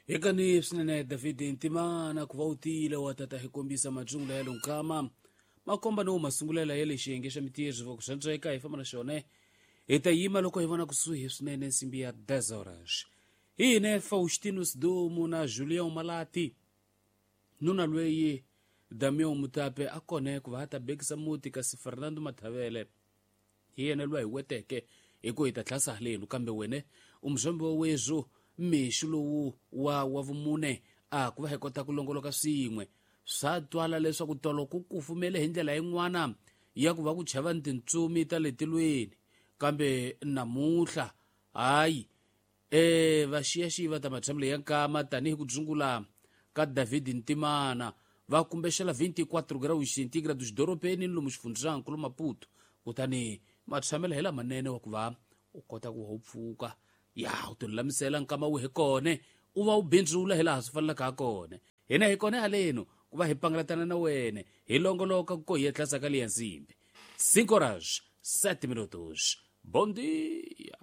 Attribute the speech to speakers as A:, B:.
A: Hekani swinene David Ntimana ku va u tiyile wa tata hi kombisa majungula ya lonkama makomba no masungulela ya le xiyenge xa mitirho va ku swantsweka hi famba na xona hi ta yima loko hi vona kusuhi swinene nsimbi ya 10 horas. Hi hine Faustino Sidumo na Julião Malati nuna lweyi Damião Mutape a kone ku va a ta bekisa muti kasi Fernando Mathavele hi yena loyi hi weteke hi ku hi ta tlhasa halenu kambe wene u muzombi wa wezu mixo lowu wa vumune a ku va hi kota ku longoloka swin'we. Swa twala leswaku tolo ku kufumele hi ndlela yin'wana ya ku va ku chava ni tintsumi ta le tilweni, kambe namuntlha hayi vaxiyaxiyi va ta matshamelo ya nkama tanihi ku dzungula ka David Ntimana va kumbexela 24 graus centigrados dorobeni ni lomu xifundzankulu Maputo, kutani matshamelo hi lamanene wa ku va u kota ku va u pfuka ya u tilulamisela nkama wu hi kone u va u bindzula hi laha swi fanelaka ha kona. Hina hi kona haleno ku va hi pangalatana na wene hi longoloka ku ko hi etlasa ka liya nsimbi. 5 horas 7 minutos. Bom dia.